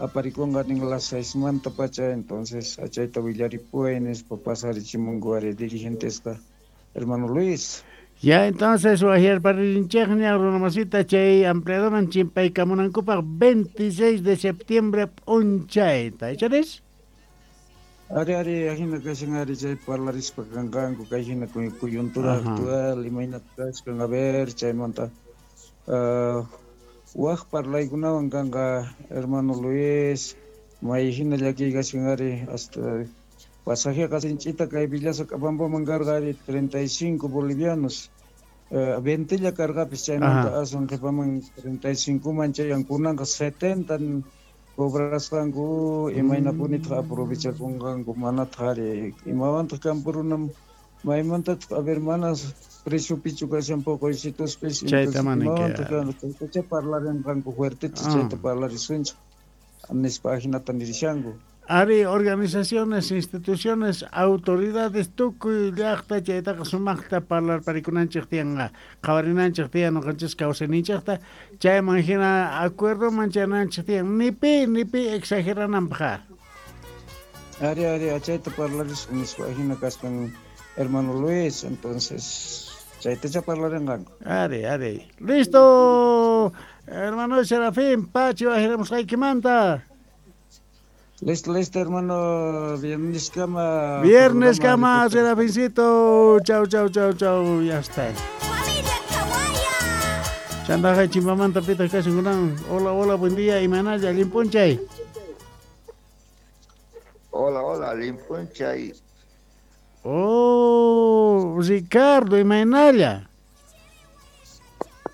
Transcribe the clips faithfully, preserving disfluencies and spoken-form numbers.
Aparikunqa nin las seismantapacha, entonces achayta willaripuway nispa pasarichimunku ari dirigentesqa, hermano Luis. Ya entonces wajyarparinchikña runamasita chay ampliadoman chimpaykamunankupaq veintiséis de septiembre p'unchayta, icharis? Ari, ari, ajina kashan ari chay parlarispa kanqanku kay hina coyuntura actual imaynata kashkan, a ver, chaymanta uh, waj parlaykunawan kanqa, hermano Luis, may hina llakiy kashan ari, hasta pasajeqa sinch'ita kay Villasa Q'apampaman karqa ari treinta y cinco bolivianos, uh, veintella karqapis chaymanta aswan qhipaman treinta y cinco man chayan kunanqa setenta cobrasqanku, imaynapunitaq aprovechakunqanku manataq ari imawantaq campo runam maymantataq, a ver, mana preciopichu kashan poqoysituspis, chayta mana imawantaq chaytacha parlarinqanku fuerteta, chayta parlarisunchik nispa ajinata nirishanku. Ari organizaciones, instituciones, autoridades, tukuy llaqta chaytaqa sumaqta parlarparikunanchik tiyanqa, qhawarinanchik tiyan ñuqanchis kawsayninchikta, chayman hina acuerdoman chayananchik tiyan, ni pi, ni pi exagerananpaq. Ari, ari, chayta parlarisun nispa hina kaspan hermano Luis, entonces chaytacha parlarinqanku. Ari, ari. Listo, hermano Serafín, pachi wajiramusqaykimanta. Listo, listo, hermano. Viernes cama. Viernes cama, Serafincito. Chau, chau, chau, chau. Ya está. Chandaja chimpamanta pita kashan kunan. Hola, hola, buen día. Imanalla, limpunchay. Hola, hola, limpunchay. Oh, Ricardo, imanalla.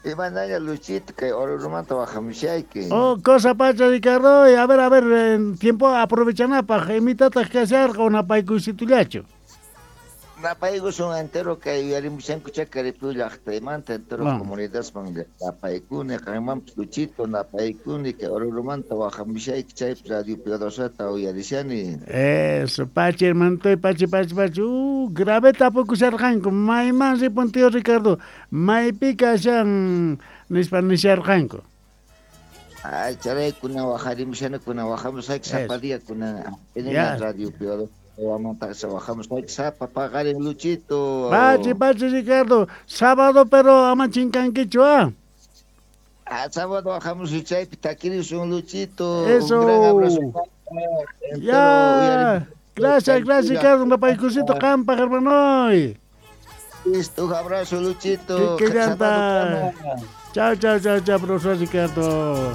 Imanalla, Luchito, que Orurumanta wajamushayki. Oh, cosa pacha, Ricardo. A ver, a ver, en tiempo aprovechanapaj, imitataq kasharqa unapaykuysitullachu. Napaykusun entero kay uyarimushanku Chacaripú llaqtaymanta entero comunidadman napaykuni, qanmanpas Luchito napaykuni, kay Orurumanta wajamushayki chaypi Radio Piadosata uyarishani. Eso, pachi, hermanitoy, pachi, pachi, pachi. Uh, grave tapukusharqanku, mayman ripun tío Ricardo, maypi kashan nispa nisharqanku. Ay, charaykuna wajarimushani, kuna wajamusayki sapa día kuna en Radio Piadosa. Sapa paqarin Luchito. Pachi, pachi, Ricardo. Sábado, pero ama chinkankichu, ¿ah? Ah, sábado bajamos chaypi takirisun, Luchito. Eso. Un gran abrazo. Ya. Gracias, gracias, Ricardo. Napaykusito qanpaq, hermanoy. Listo, un abrazo, Luchito. Que, que llanta. Chao, chao, chao, chao, profesor Ricardo.